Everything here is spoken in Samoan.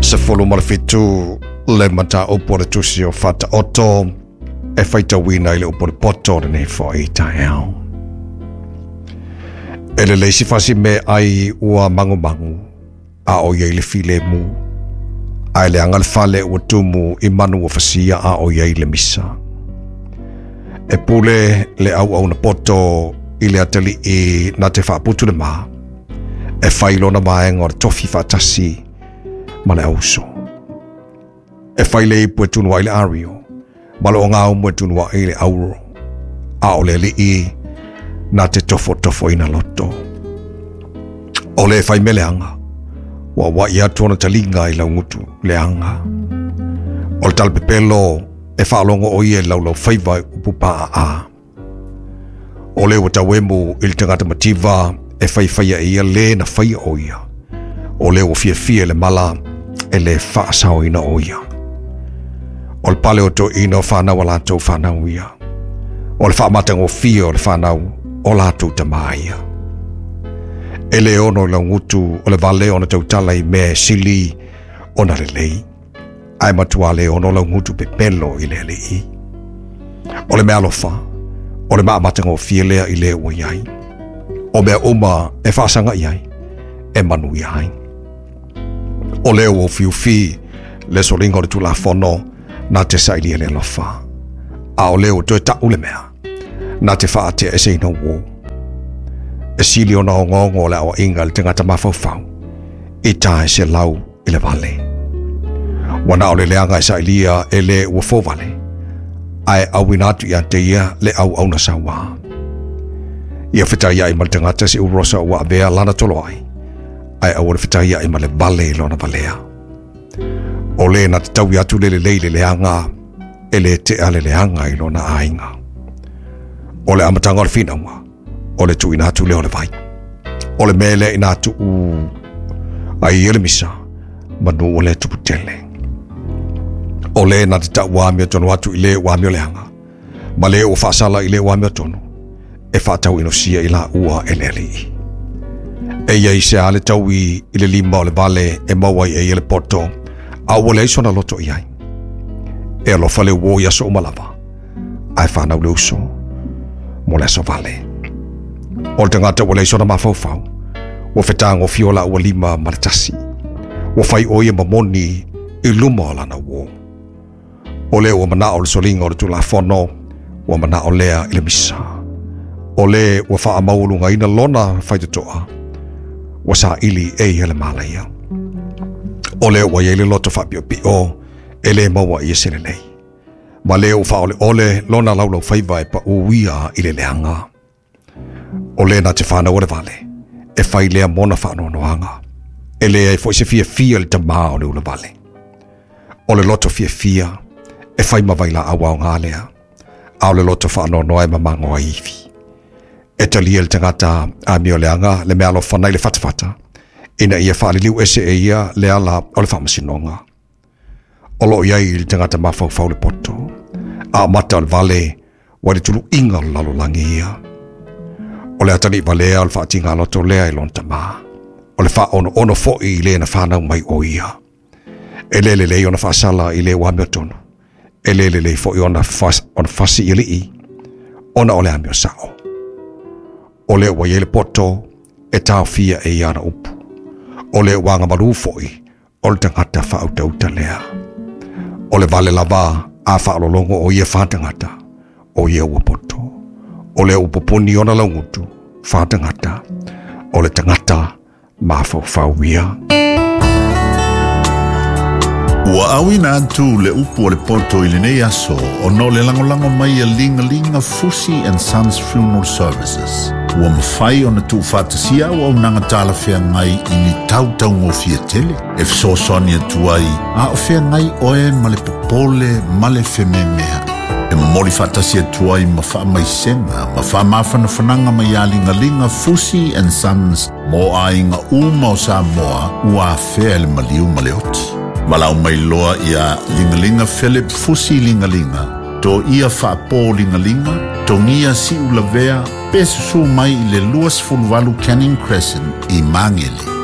17 le mataupu o le tusi o Faataoto e faitauina i le upu o le poto o lenei foi taeao. E lelei si fasi me ai ua mangumangu, a o iai le filemu. Ae leaga le fale ua tumu i manu ua fasia a o iai le misa. E pule le auauna poto i le atalii na te faaputu le ma, e fai lona vaega o le tofi faatasi ma le auso. E fai le ipu e tunu ai le ario, ma le ogaumu e tunu ai le auro, a o le alii na te tofotofoina loto. O le fai me leaga, ua ua'i atu ona taliga i laugutu leaga. O le talapepelo e faalogo o ia i laulaufaiva i upu paaa. O le ua tauemu i le tagata mativa e faifaia e ia le na faia o ia. O le ua fiafia i le mala e le faasaoina o ia. O le pale o toeaiina o fanau a latou fanau ia. O le faamatagofie o le fanau o latou tama ia. E le ono i laugutu o le vale ona tautala i mea e sili ona lelei, ae matua le ono laugutu pepelo i le alii. O le mea alofa, o le maamatagofie lea i le ua i ai. O mea uma e faasaga i ai, e manuia ai. O le ua ufiufi le soliga o le Tulafono na te sailia le alofa, a o le ua toe ta'u le mea na te faate'eseina uō. E sili ona ogaoga le aoaiga i le tagata mafaufau i tae se lau i le vale. Ua na o le leaga e sailia e le ua fōvale, ae auina atu ia te ia le auauna sauā. Ia fetaia'i ma le tagata se urosa ua avea lana toloai, ae aua le fetaia'i ma le vale i lona valea. O le na te taui atu le lelei i le leaga, e le tea le leaga i lona aiga. O le amataga o le finauga, o le tuuina atu lea o le vai. O le mea lea ina tuu ai ia le misa, manu o le tupu tele. O le na te tau amiotonu atu i le ua amioleaga, ma le ua faasala i le ua amiotonu, e faatauinosia i laua e le alii. E ia i se a le taui i le lima o le vale e maua ai e ia le poto, a ua leai sona loto i ai. E alofa le uō i aso uma lava, ae fanau le uso mo le aso vale. O le tagata ua leai sona mafaufau, ua fetagofie o laua lima ma le tasi. Ua fai o ia ma moni i luma o lana uō. O le ua manao le soliga o le Tulafono, ua manao lea i le misa. O le ua faamaualugaina lona faitotoa, ua saili e ia le malaia. O le ua iai le loto faapiopio, e le maua ia se lelei. Ma le ua faaoleole lona laulaufaiva e paū ia i le leaga. O le na te fanau o le vale, e fai lea mona faanoanoaga. E leai foi se fiafia i le tamā o le ulavale. O le loto fiafia, e fai ma vailaau aoga lea, a o le loto faanoanoa e mamago ai ivi. E talia le tagata amioleaga le meaalofa nai le fatafata, ina ia faaliliu ese e ia le ala o le faamasinoga. O loo i ai i le tagata mafaufau le poto, a o mata o le vale ua i le tuluiga o le lalolagi ia. O le atalii valea o le faatigaloto lea i lona tamā, o le faaonoono foi i le na fanau mai o ia. E le lelei ona faasala i le ua amiotonu, e le lelei foi ona fasi i alii, ona o le amio sao. O le ua i ai le poto e taofia e ia ana upu. O le ua agamalu foi o le tagata faautauta lea. O le vale lava a faalologo o ia faatagata, o ia ua poto. O le ua pupuni ona laugutu, faatagata, o le tagata mafaufau ia. Ua auina atu le upu o le poto i lenei aso ona o le lagolago mai a Ligalinga Fusi and Sons Funeral Services. Ua mafai ona tuufaatasia auaunaga talafeagai i ni tautaugofie tele e fesoasoani atu ai a o feagai oe ma le popole ma le fememea'i. E momoli faatasi atu ai ma faamaisega ma faamafanafanaga mai ia Ligalinga Fusi and Sons mo aiga uma o Samoa ua afea i le maliu ma le oti. Valaau mai loa ia Ligalinga Philip Fusi Ligalinga, Toia Faapo Ligalinga, Togia Siulavea, pe susū mai i le 28 Canning Crescent i Magele.